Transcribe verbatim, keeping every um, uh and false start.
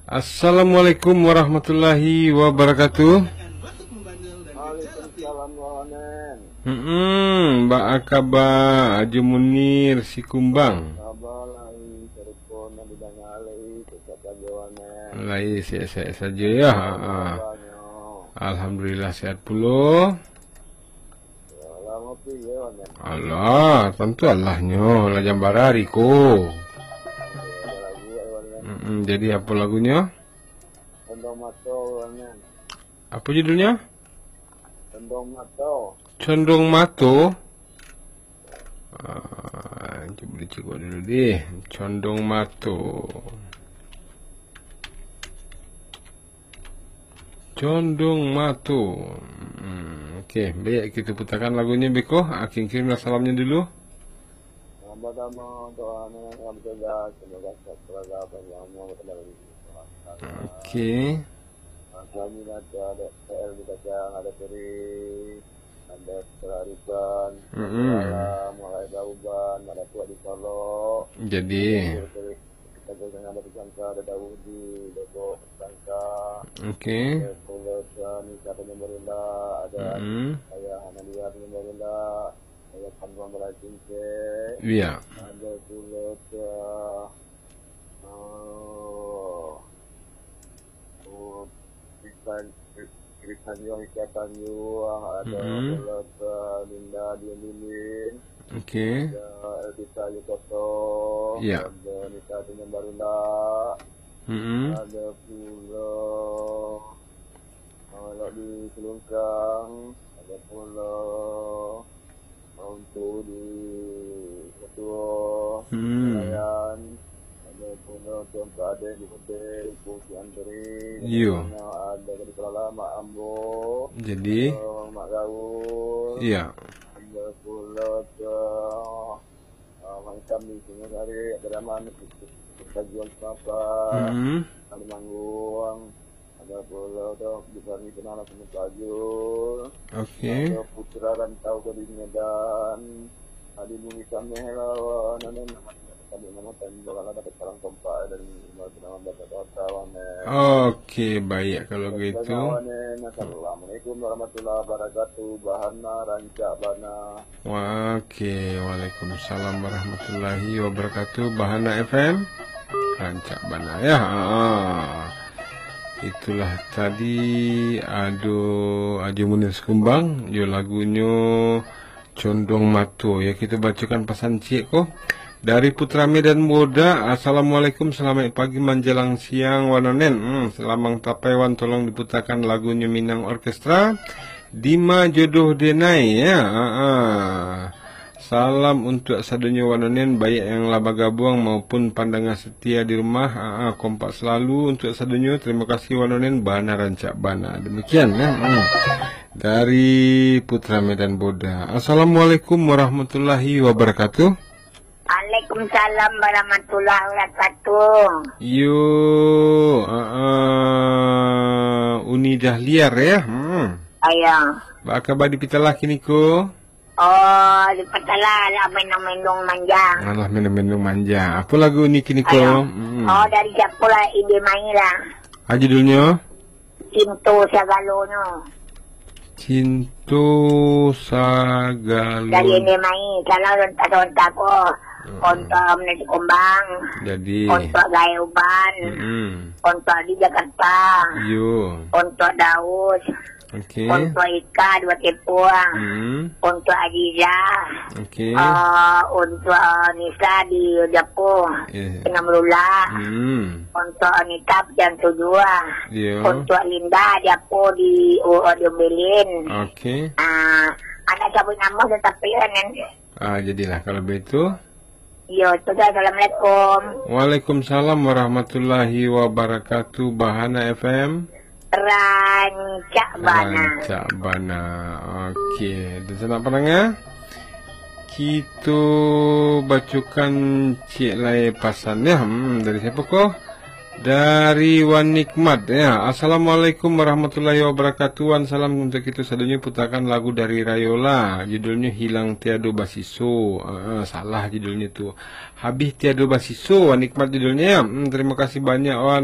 Assalamualaikum warahmatullahi wabarakatuh. Waalaikumsalam, Wanen. Hmm, baa kaba, Ajo Munir Sikumbang? Kaba lai, sarupo nan didanga lai, sehat sajo, Wanen. Lai sehat-sehat sajo, ya. Ha, ha. Kabanyo? Alhamdulillah, sehat pulo. Alah, tantu Allahnyo, lah jam bara hari ko. Mm-mm, jadi apo lagunyo? Condong Mato, Wanen. Apo judulnyo? Condong Mato. Condong Mato? Ah, cubo dicekok dulu deh. Condong Mato. Condong Mato. Hmm, oke, baik, kita putarkan lagunyo beko. Ah, kirim-kirimlah salamnyo dulu. Pertama-tama untuk anak yang bertugas, semoga sehat selalu, panjang umur, bertambah rezeki. Oke. Kami nanti ada P L di Kacang, ada Peri, ada Pelarisan, Mm-mm. ada Alam, ada Dauban, ada Tuak di Solok. Jadi. Kita jangan ada Pesangka, ada Daudi, Depok Pesangka. Oke. Ada Pulau Sani, Kata Nyambarula, ada Mm-mm. Ayah Analia Nyambarula, ada Kampung Belacan Cek. Iya. Ada Pulau Sa-, oh, Oh, Krisan, Krisan Yuang Ika Tanjuang, ada Mm-mm. Pulau Sa-, Linda Dion Lilin, Oke. ada Elvita Ayu Koto, Iya. ada Nita Tunjang Barula, Mm-mm. ada pulo, ah, Lok di Selungkang, ada pulo, Untuk di ketua Hmm. pelayan, ada pun untuk adek di hotel, Ibu Cik Antri, Iyo. Ada di Kelala, Mak Ambo, Jadi? Mak Gaul, Iya. Ada pula ke, ah, Mak Itam di Singosari, Abdurrahman, Tanjuang Semapa, Hmm. Kalimantan, Ada pulo tu, di kami kenal sama Tajul. Oke. Ada putra rantau dari Medan. Adi Bumi Sameh lawan, anu, nama, tadi nama tadi, bakalan dapat salam kompak dari Imam Tenang Baca Kota, Wane. Oke, baik kalau gitu. Wane, Assalamualaikum warahmatullahi wabarakatuh. Bahana rancak bana. Oke, waalaikumsalam warahmatullahi wabarakatuh. Bahana F M, rancak bana, ya. Ha. Itulah tadi ado Ajo Munir Sikumbang, yo lagunyo Condong Mato. Ya, kita bacakan pasan ciek ko. Dari Putra Medan Boda, "Assalamualaikum, selamat pagi manjalang siang, Wanonen." Hmm, Selamang Tapai, Wan, tolong diputakan lagunyo Minang Orkestra. Dima jodoh denai, ya. Ha, ha. Salam untuak sadonyo Wanonen, baik yang lah bagabuang maupun pandanga setia di rumah. Ha, ha. Kompak selalu untuak sadonyo. Terima kasih Wanonen, bana rancak bana. Demikian, ya. Hmm. Dari Putra Medan Boda. Assalamualaikum warahmatullahi wabarakatuh. Waalaikumsalam warahmatullahi wabarakatuh. Yo, ah, ah, Uni Dahliar, ya. Hmm. Ayo. Baa kaba di Pitalah kini ko? Oh, di Pitalah lah mendung-mendung manja. Alah, mendung-mendung manja. Apo lagu Uni kini ko? Ayo. Hmm. Oh, dari siapo lah, Ide Mai lah. Ah, judulnyo? Cinto Sagalonyo. Cinto Sagalo. Dari Ende Mai, salam ontak-ontak ko. Mm-mm. Ontok Menasi Kumbang. Jadi. Ontok Gae Uban. Mm-mm. Ontok di Jakarta. Iyo. Ontok Daus. Oke. Ontok Ika Dua Tepung. Mm-mm. Ontok Aziza. Oke. Ah, ontok Nisa di Japo. Eh. Tengah Melula. Mm-mm. Ontok Anita Pian Tujuah. Iyo. Ontok Linda Japo di, oh, di Umbelin. Oke. Ah, anak cabut nama tetapi kan. Ah, jadilah kalau begitu. Iyo, sudah. Assalamualaikum. Waalaikumsalam warahmatullahi wabarakatuh. Bahana F M. Rancak bana. Rancak bana. Oke, dan sanak pandanga, kito bacokan ciek lai pasan, ya. Hmm, dari siapo ko? Dari Wan Nikmat, ya. "Assalamualaikum warahmatullahi wabarakatuh. Wan, salam untuk kito sadonyo, putakan lagu dari Rayola. Judulnyo Hilang Tiado Basiso." Ah, salah judulnyo tu. Habih Tiado Basiso, Wan Nikmat judulnyo, ya. Hmm, terima kasih banyak, Wan.